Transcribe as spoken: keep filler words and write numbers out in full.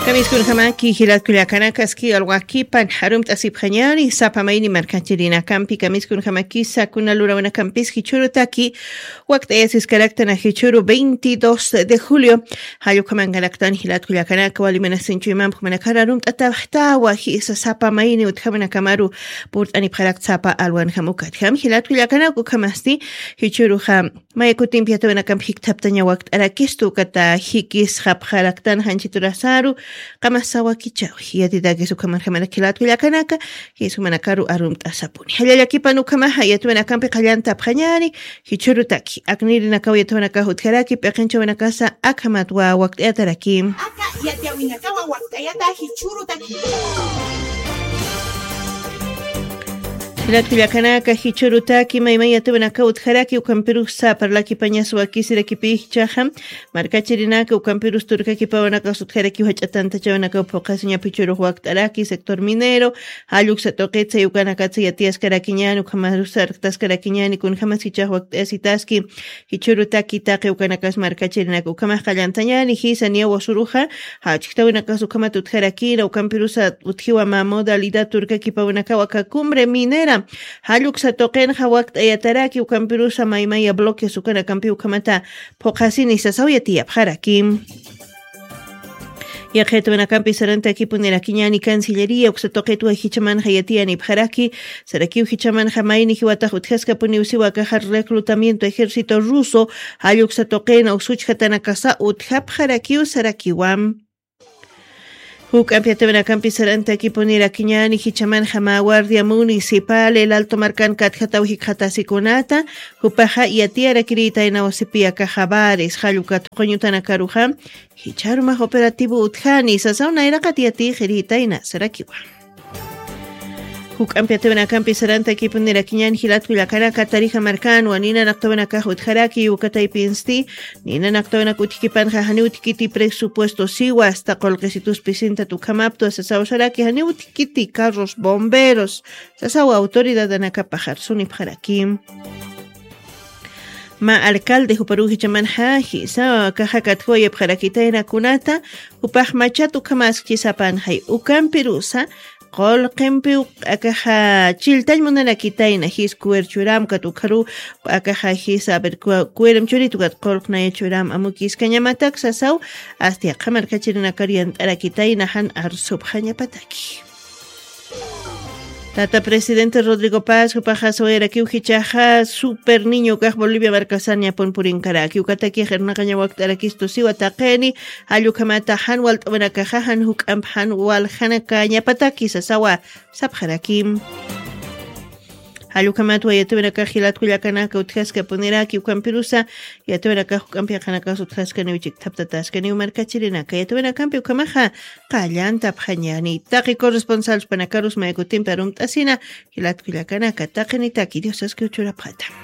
Kamiskunjamaki jilat kullakanakaski alwakipan jarumt'asipxañari sapa mayni markachirinakampi kamiskunjamakisa kuna lurawinakampis jichhurutaki wakt'ayasiskaraktan jichhuru veintidós de julio. Jallukhamankaraktan jilat kullakanaka waliminasinchuymampumanakar arumt'ataxtawa jisa sapa mayni utjamanakamaru purt'anipxarakt sapa alwanjam ukatjam jilat kullakanaka ukhamasti jichhuruxa maya kutimpi yatawinakampi jikthaptaña wakt'arakistu ukata jikisxapxaraktan janchiturasaru qamasawakichawi yatitakis ukhamarjamanak jilat kullakanaka jismanakaru arumt'asapuni jallallakipan ukhamaxa yatawinakampi qallantapxañani jichhurutaki aknirinakaw yatawinakax utjaraki p'iqinchawinakasa akhamatwa wakt'ayataraki. Aka yatiyawinakawa wakt'ayata jichhurutaki. Jilat kullakanaka jichhurutaki maymay yatawinakaw utjaraki ukampirusa parlakipañas wakisirakipichaxa markachirinaka ukampirus turkakipawanakax utjarakiw jach'a tantachawinakaw phuqhasiña phichhurux wakt'araki sector minero jalluksa tuqitsa yukanakatsa yatiyaskarakiñani ukhamarus sarktaskarakiñani kunjamasichax wakt'ayasitaski jichhurutaki taqi ukanakas markachirinak ukhamax qallantañani jisa niyaw wasuruxa jachktawinakas ukhamat utjarakina ukampirusa utjiwa mä modalidad turkakipawinakaw aka cumbre minera jalluksa tuqinxa wakt'ayataraki ukampirusa maymaya bloques ukanakampi ukhamata phuqhasini sasaw yatiyapxaraki. Yaqhitwinakampi sarantakipunirakiñani cancillería uksa tuqitwa jichamanxa yatiyanipxaraki sarakiw jichamanxa mayni jiwatax utjaskapuniw siwa akaxa reclutamiento ejército ruso jalluksa tuqina uksuchjatanakasa utjapxarakiw sarakiwa. Juk'ampi yatawinakampi sarantakipunirakiñani jichamanxa mä guardia municipal el alto markan katjataw jikxatasikunata jupaxa yatiyarakirïtaynaw sipi akaxa bares jallukat quñutanakaruxa jichharumax operativo utjani sasaw nayraqat yatiyxirïtayna sarakiwa. Juk'ampi yatawinakampi sarantakipunirakiñani jilat kullakanaka tarija markanwa ninanaqtawinakax utjaraki ukataypinsti ninanaqtawinak utjkipanxa janiw utjkiti presupuesto siwa asta qullqisitus pisintat ukhamaptwa sasaw saraki janiw utjkiti carros bomberos sasaw autoridadanakapaxar sunipxaraki. Mä alcalde juparuw jichamanxa jisa kaxa katjawayapxarakitayna kunata jupax machat ukhamaskchi sapanxay ukampirusa qullqimpiw akaxa chilltañ munarakitayna jis kuwir churamkat ukharuw akaxa jisa a ver kuwirim churitukat qullqnaya churam amukiskañamatak sasaw asti aqha markachirinakar yant'arakitayna jan arsupxañapataki. Tata presidente Rodrigo Paz jupaxa sawayarakiw jichaxa super niño kax Bolivia markasan ñapun purinkaraki ukataki qirnaqaña wakt'arakistu siwa taqini jallukhamata jan walt'awinakaxa jan juk'amp jan waljanakañapataki sasawa sapxarakim. Jallukhamatwa yatawinakax jilat kullakanaka utjaskapuniraki ukampirusa yatawinakax juk'amp yaqanakas utjaskaniw chikthaptataskaniw markachirinaka yatawinakampi ukhamaxa qallantapxañani taqi corresponsalspanakarus maykutimpi arumt'asina jilat kullakanaka taqinitaki diosaskiw churapxata.